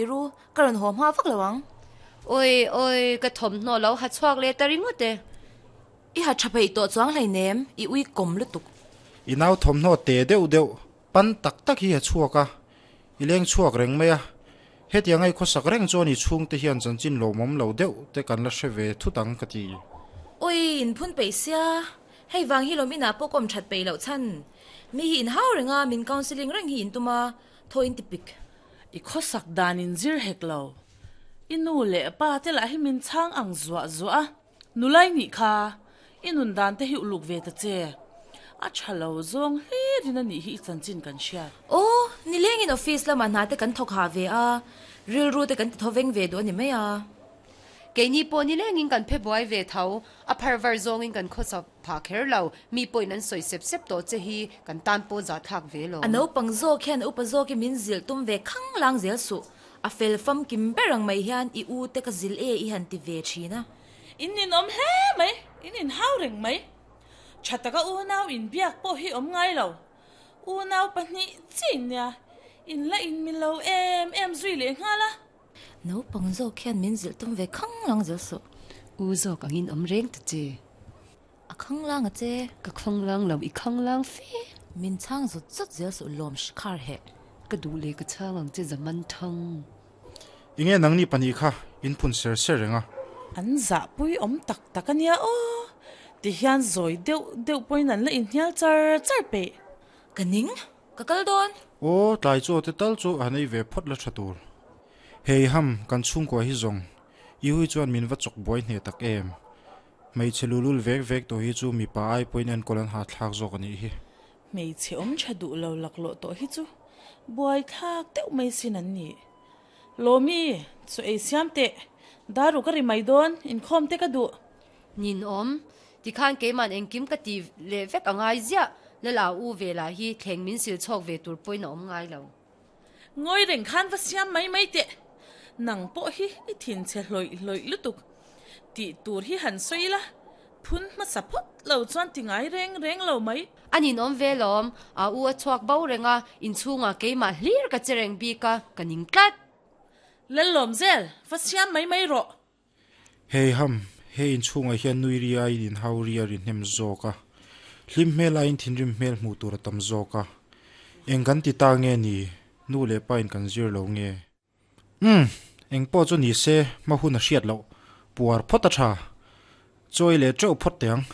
Ru, ka rawn haw hma vak lo ang. Awi awi, ka thawmhnaw lo ha chhuak leh ta ringawt e. I ha tha peih tawh chuang hleinem, i ui kawm lutuk. I nau thawmhnaw te deuh deuh, pan tak tak hi ha chhuak a, i leng chhuak reng mai a. Hetiang a i khawsak reng chuan i chhungte hian chanchin lawmawm lo deuh te kan la hre ve thut ang ka ti. Awi, in phun peih sia, hei vang hi lawm inah pawh kawm that peih loh chhan. Mi hi in hau reng a, min counselling reng hi in tum a, thaw in ti pik. I khawsak dan in zir hek lo. I nu leh pa te lah hi min chhang ang zuah zuah a, nulai nih kha i nun dan te hi uluk ve ta che. A tha lo zawng hlir in a nih hi i chanchin kan hriat. Aw, nilengin office lamah hna te kan thawk hah ve a, rilru te kan ti thaw veng ve duh a ni mai a. Keini pawh nilengin kan phe buai ve tho, a phar var zawngin kan khawsak phah kher lo, mi pawhin an sawi sep sep tawh che hi kan tan pawh zahthlak ve lo. A naupang zawk hian upa zawk hi min zilh tum ve khang lang zel suh, a fel famkim ber ang mai hian i u te ka zilh e i han ti ve thin a. In ninawm hle mai, in inhau reng mai. Tha taka unau inbiak pawh hi awm ngai lo. Unau pahnih chiin nia, in la inmi lo em em zui leh nghal a. Naupang zawk hian min zilh tum ve khang lang zel suh. U zawk angin awm reng ta che. A khang lang a che. Ka khang lang lo, i khang lang fe. Min chhang zut zut zel suh lawm khar heh. Ka duh leh ka chhang ang che zaman thang. Enge nangni pahnih kha in phun ser ser reng a. An zahpui awm tak tak a nia aw. Tihian zawi deuh deuh pawhin an la inhnial char char peih. Ka ning. Ka kal dawn. Aw, tlai chaw te tal chu han ei ve phawt la tha tur. Hei ham, kan chhungkua hi zawng. I hui chuan min va chawk buai hneh tak em. Hmeichhe lulul vek vek tawh hi chu mipa ai pawhin enkawl an hahthlak zawk a nih hi. Hmeichhe awm tha duh lo laklawh tawh hi chu buai thlak deuh mai sin an ni. Lawmi, chaw ei siam teh. Daru ka ri mai dawn, inkhawm te ka duh. Ninawm, tikhan keiman engkim ka ti leh vek a ngai ziah, Lala u ve lah hi thleng min sil chhawk ve tur pawhin a awm ngai lo. Ngawi reng khan va siam mai mai teh, nang pawh hi i thinchhe hlawih hlawih lutuk tih tur hi han sawi ila, phun hmasa phawt lo chuan ti ngai reng reng lo mai. A ninawm ve lawm, a u a chhuak bo reng a, inchhungah keimah hlir ka che reng bik a, ka ning tlat. Lallawmzel, va siam mai mai rawh. Hei ham, he inchhungah hian nui ri aiin inhau ri a ri hnem zawk a, hlim hmel aiin thinrim hmel hmuh tur a tam zawk a. Eng kan ti ta nge ni? Nu leh pa in kan zir lo nge? Umm, eng pawh chu ni se, hma hun a hriat loh. Puar phawt a tha. Chawi leh teuh phawt teh ang.